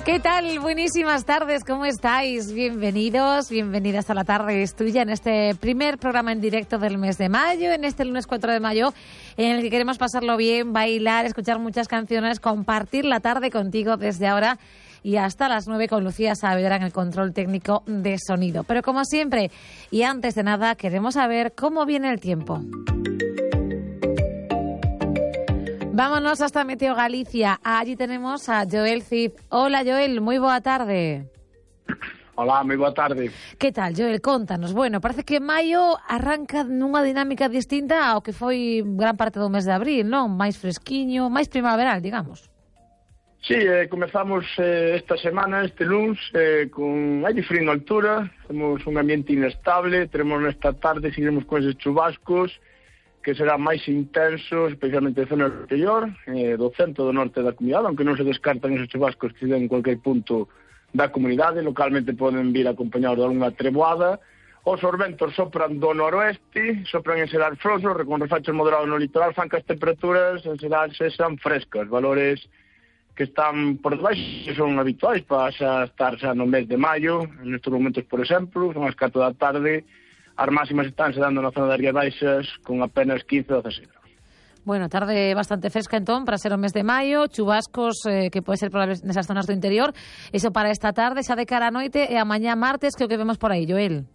¿Qué tal? Buenísimas tardes, ¿cómo estáis? Bienvenidos, bienvenidas a La Tarde es Tuya en este primer programa en directo del mes de mayo, en este lunes 4 de mayo, en el que queremos pasarlo bien, bailar, escuchar muchas canciones, compartir la tarde contigo desde ahora y hasta las 9 con Lucía Saavedra en el control técnico de sonido. Pero como siempre, y antes de nada, queremos saber cómo viene el tiempo. Vámonos hasta Meteo Galicia. Allí tenemos a Joel Cid. Hola, Joel, moi boa tarde. Hola, moi boa tarde. Que tal, Joel? Contanos. Bueno, parece que maio arranca nunha dinámica distinta ao que foi gran parte do mes de abril, non? Máis fresquiño, máis primaveral, digamos. Sí, comezamos esta semana, este luns, con aire frío en altura, temos un ambiente inestable, teremos nesta tarde, seguiremos con eses chubascos, que serán máis intensos, especialmente en zona interior, do centro do norte da comunidade, aunque non se descartan esos chubascos que se den en cualquier punto da comunidade, localmente poden vir acompañados de alguna treboada. Os ventos sopran do noroeste, sopran en Sedal Froso, con refachos moderados no litoral, fan que as temperaturas en Sedal sexan frescas, valores que están por debaixo, que son habituais para estar xa no mes de maio, en estes momentos, por exemplo, son as 4 da tarde. As máximas están se dando na zona das Rías Baixas con apenas 15 ou 16 graus. Bueno, tarde bastante fresca entón para ser o mes de maio, chubascos que pode ser probables nesas zonas do interior. Iso para esta tarde, xa de cara a noite e a mañá martes, que o que vemos por aí, Joel?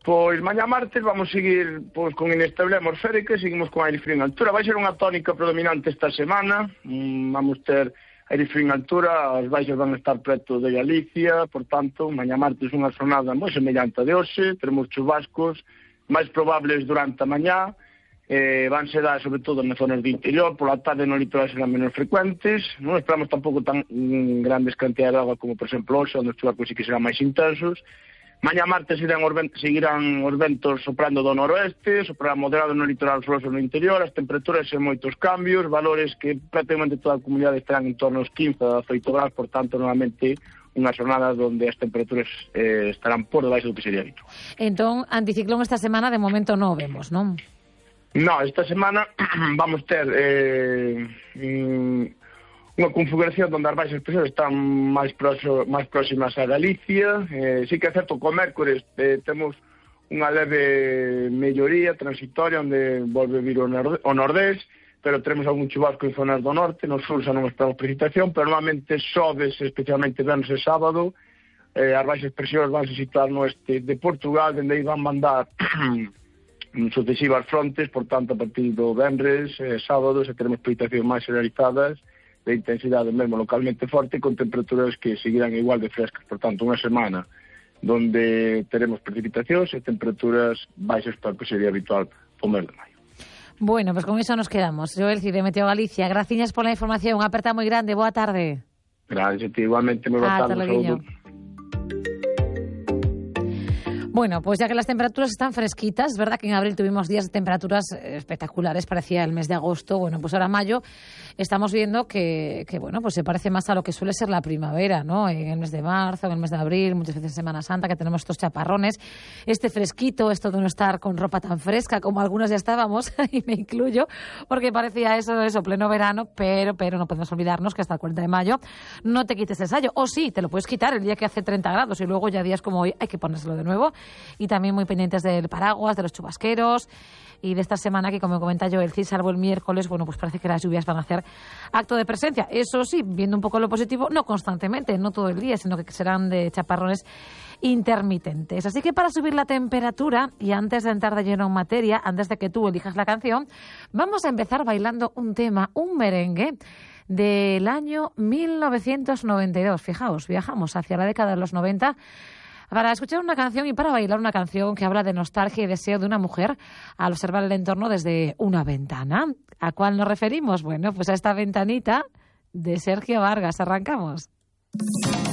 Pois mañá martes vamos seguir con inestabilidade atmosférica, seguimos con aire frío en altura. Vai ser unha tónica predominante esta semana, vamos ter aire frío en altura, as baixas van a estar preto de Galicia, por tanto, mañá martes unha xornada moi semellante a de hoxe, teremos chubascos máis probables durante a mañá, van ser dar sobre todo nas zonas de interior, pola tarde no litoral serán menos frecuentes, non esperamos tampouco tan grandes cantidades de agua como, por exemplo, hoxe, onde os chubascos sí que serán máis intensos. Mañá martes seguirán os ventos soprando do noroeste, soprarán moderado no litoral froso no interior, as temperaturas en moitos cambios, valores que prácticamente toda a comunidade estarán en torno aos 15 a 18 graus, por tanto, normalmente unha xornada onde as temperaturas estarán por debaixo do que sería habitual. Entón, anticiclón esta semana de momento non vemos, non? No, esta semana vamos ter unha configuración onde as baixas presións están máis próximas a Galicia. Sí que é certo que o mércores temos unha leve melloría transitoria onde volve vir o nordés, pero teremos algún chubasco en zonas do norte, no sur xa non esperamos precipitación, pero normalmente xoves, especialmente venres e sábado, as baixas presións van se situar no oeste de Portugal, onde aí van mandar sucesivas frontes, por tanto, a partir do venres, sábado, se teremos precipitacións máis generalizadas, de intensidade mesmo localmente forte, con temperaturas que seguirán igual de frescas. Por tanto, unha semana donde teremos precipitacións e temperaturas baixas para o que sería habitual o mes de maio. Bueno, pues con eso nos quedamos. Joel Cid de Meteo Galicia, graciñas pola información, unha aperta moi grande, boa tarde. Gracias a ti, igualmente, moi boa tarde. Saúdo. Bueno, pues ya que las temperaturas están fresquitas, es verdad que en abril tuvimos días de temperaturas espectaculares, parecía el mes de agosto, bueno, pues ahora mayo estamos viendo que bueno, pues se parece más a lo que suele ser la primavera, ¿no? En el mes de marzo, en el mes de abril, muchas veces en Semana Santa, que tenemos estos chaparrones, este fresquito, esto de no estar con ropa tan fresca como algunos ya estábamos, y me incluyo, porque parecía eso, pleno verano, pero no podemos olvidarnos que hasta el 40 de mayo no te quites el sayo, o sí, te lo puedes quitar el día que hace 30 grados y luego ya días como hoy hay que ponérselo de nuevo. Y también muy pendientes del paraguas, de los chubasqueros y de esta semana que, como comenta Joel Cid, salvo el miércoles, bueno, pues parece que las lluvias van a hacer acto de presencia. Eso sí, viendo un poco lo positivo, no constantemente, no todo el día, sino que serán de chaparrones intermitentes. Así que para subir la temperatura, y antes de entrar de lleno en materia, antes de que tú elijas la canción, vamos a empezar bailando un tema, un merengue del año 1992. Fijaos, viajamos hacia la década de los 90 para escuchar una canción y para bailar una canción que habla de nostalgia y deseo de una mujer al observar el entorno desde una ventana. ¿A cuál nos referimos? Bueno, pues a esta ventanita de Sergio Vargas. Arrancamos.